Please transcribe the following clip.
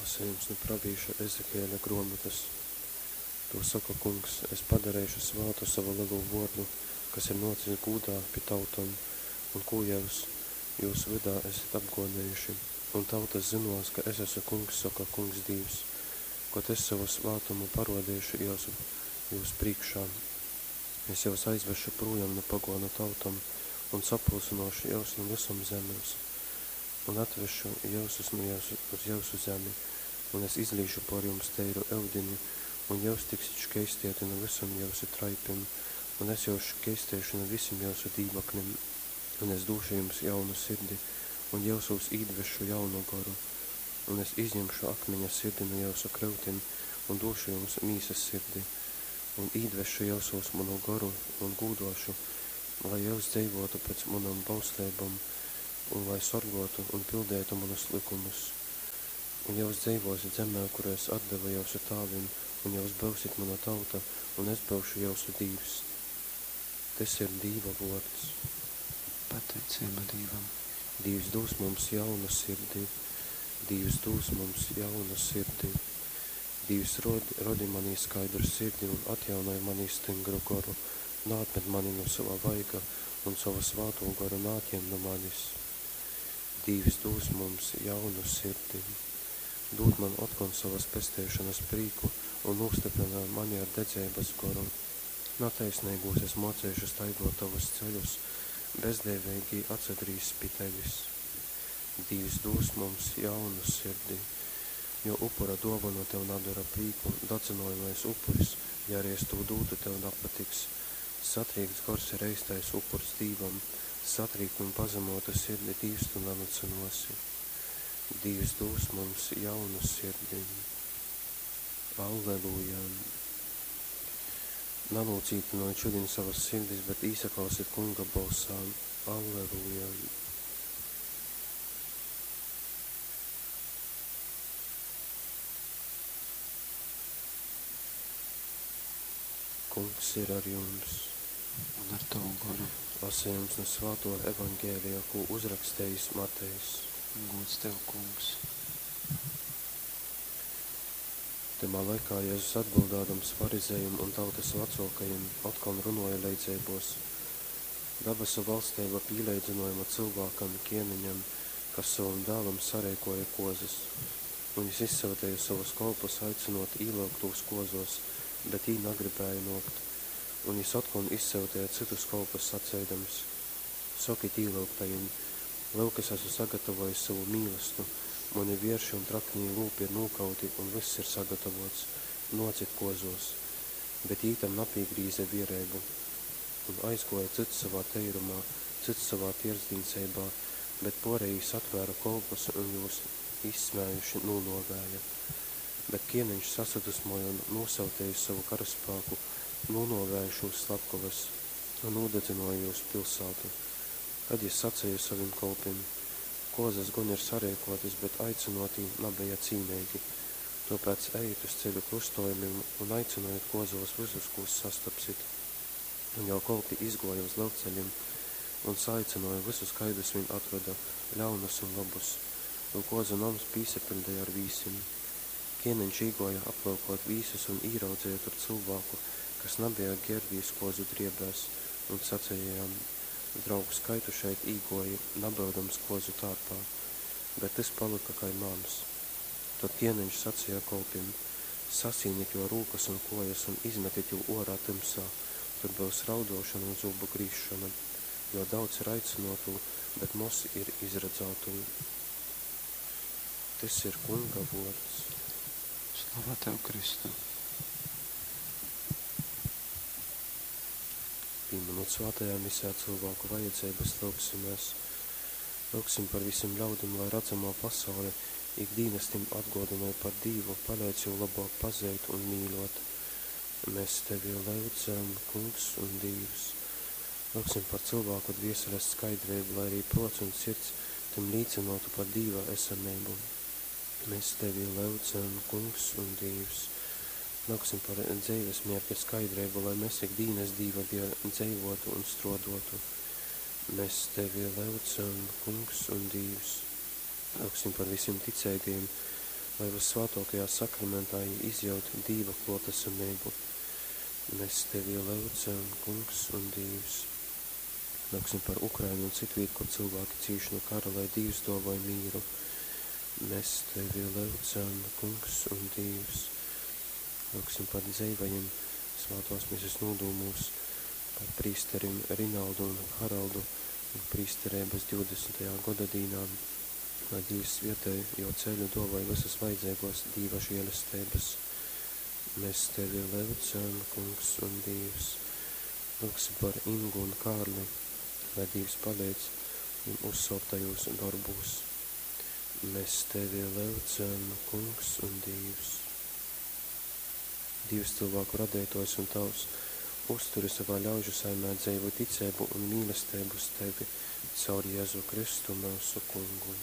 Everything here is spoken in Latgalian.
Lasejums nu pravīša Ezekieļa gruomotys. Tū soka Kungs, Es padareišu svātu sovu lelū vuordu, kas ir nuocis gūdā pi tautom, un kū jyus jūs vydā esit apguonejuši. Un tautas zynuos, ka es asu Kungs, soka Kungs Dīvs, kod es sovu svātumu paruodeišu jūs prīškā. Es jyus aizvesšu prūjom nu paguonu tautom un sapulcynuošu jyus nu vysom zemēs un atvesšu jyusus nu jyusu, uz jyusu zemi, un es izlīšu pōr jums teiru yudini, un jyus tiksit škeistieti nu vysom jyusu traipim, un es jyus škeisteišu nu vysim jyusu dīvaklim, un es dūšu jums jaunu sirdi, un jyusūs īdvesšu jaunu goru. Un es izjimšu akmiņa sirdi nu jyusu kryutim un dūšu jums mīsas sirdi, un īdvesšu jyusūs munu goru un gūdōšu, lai jyus dzeivōtu pēc munom bausleibom un lai sorgōtu un pildeitu munus lykumus. Un jyus dzeivōsit zemē, kuru es atdevu jyusu tāvim, un jyus byusit muna tauta, un es byušu jyusu Dīvs. Tys ir Dīva vōrds. Pateiceiba Dīvam. Dīvs dūs mums jaunu sirdi. Dīvs dūs mums jaunu sirdi. Dīvs, rodi, rodi manī skaidru sirdi un atjaunoj manī styngru goru. Naatmet mani nu sova vaiga un sovu svātū goru naatjem nu manis. Dīvs dūs mums jaunu sirdi. Dūd man otkon sovas pesteišonas prīku un nūstyprynoj mani ar dedzeibas goru. Nataisneigūs es mōceišu staigōt tovus ceļus, bezdīveigī atsagrīzs pi tevis. Dīvs dūs mums jaunu sirdi, jo upura dōvona tev nadora prīku, dadzynojamais upuris, ja arī es tū dūtu, tev napatiks. Satrīkts gors ir eistais upurs Dīvam, satrīktu un pazemotu sirdi Dīvs tu nanycynōsi. Dīvs dūs mums jaunu sirdi. Alleluja! Nanūcītynojit šodien savas sirdis, bet īsaklausit Kunga bolsā. Alleluja! Kungs ir ar jums. Un ar tavu goru. Lasījums nu Svāto Evaņģēlija, kū uzrakstījis Matejs. Gūds tev, Kungs. Tymā laikā Jēzus atbildādams farizejim un tautas vecōkajim otkon runōja leidzeibōs. Dabasu valsteiba pīleidzynojama cylvākam, kēneņam, kas sovam dālam sareikōja kōzas. Un jys izsyuteja sovus kolpus aicynōt īlyugtūs kōzōs, bet jī nagribēja nōkt. Un jys otkon izsyuteja cytus kolpus saceidams: Sokit īlyugtajim: Lyuk, es asu sagatavōjis sovu mīlastu, muni vierši un traknī lūpi ir nūkauti un vyss ir sagatavōts. Nōcit kōzōs! Bet jī tam napīgrīze viereibu un aizgōja cyts sovā teirumā, cyts sovā tierdznīceibā, bet pōrejī satvēra kolpus un jūs izsmējuši nūnōvēja. Bet kēneņš sasadusmōja un, nūsyutejis sovu karaspāku, nūnōvēja šūs slapkovas un nūdadzynōja jūs pilsātu. Tad jys saceja sovim kolpim: Kōzas gon ir sareikōtas, bet aicynōtī nabeja cīneigi. Tōpēc ejit uz ceļu krustōjumim un aicynojit kōzōs vysus, kūs sastapsit. Un jō kolpi izgōja uz lelceļim un saaicynōja vysus, kaidus vīn atroda, ļaunus un lobus. Un kōzu noms pīsapiļdeja ar vīsim. Kēneņš īgōja aplyukōt vīsus un īraudzeja tur cylvāku, kas nabeja gērbīs kōzu driebēs, un saceja jam: Draugs, kai tu šeit īgōji, nabyudams kōzu tārpā? Bet tys palyka kai māms. Tod kēneņš saceja kolpim: Sasīnit jō rūkas un kōjas un izmetit jū ōrā tymsā, tur byus raudōšona un zūbu grīzšona, jo daudz ir aicynōtū, bet moz ir izradzātū. Tys ir Kunga vōrds. Slava tev, Kristu! Pīminūt svātajā misē cylvāku vajadzeibas, lyugsimēs. Lyugsim par vysim ļaudim, lai radzamō pasaule ik dīnas tim atgōdynoj par Dīvu, paleidz jū lobōk pazeit un mīļōt. Mēs tevi lyudzam, Kungs un Dīvs. Lyugsim par cylvāku dvieseles skaidreibu, lai arī prōts un sirds tim līcynōtu par Dīva esameibu. Mēs tevi lyudzam, Kungs un Dīvs. Lyugsim par dzeives mierķa skaidreibu, lai mēs ik dīnas Dīva dēļ dzeivotu un struoduotu. Mēs tevi lyudzam, Kungs un Dīvs. Lyugsim par vysim ticeigajim, Lai vyssvātōkajā sakramentā jī izjyut Dīva klōtasameibu. Mēs tevi lyudzam, Kungs un Dīvs. Lyugsim par Ukrainu un citvīt, kur cilvēki cīš nu kara, lai Dīvs dōvoj mīru. Mēs tevi lyudzam, Kungs un Dīvs. Lyugsim par dzeivajim svātōs mises nūdūmūs, par prīsterim Rinaldu un Haraldu prīstereibas 20. godadīnā, lai Dīvs svietej jo ceļu dōvoj vysas vajadzeigōs Dīva žēlesteibas. Mēs tevi lyudzam, Kungs un Dīvs. Lyugsim par Ingu un Kārli, lai Dīvs paleidz jim uzsōktajūs dorbūs. Mēs tevi lyudzam, Kungs un Dīvs. Dīvs cilvēku radeitōjs un Tavs, uzturi savā ļaužu saimē dzeivu ticeibu un mīlesteibu uz tevi caur Jēzu Kristu myusu Kungu.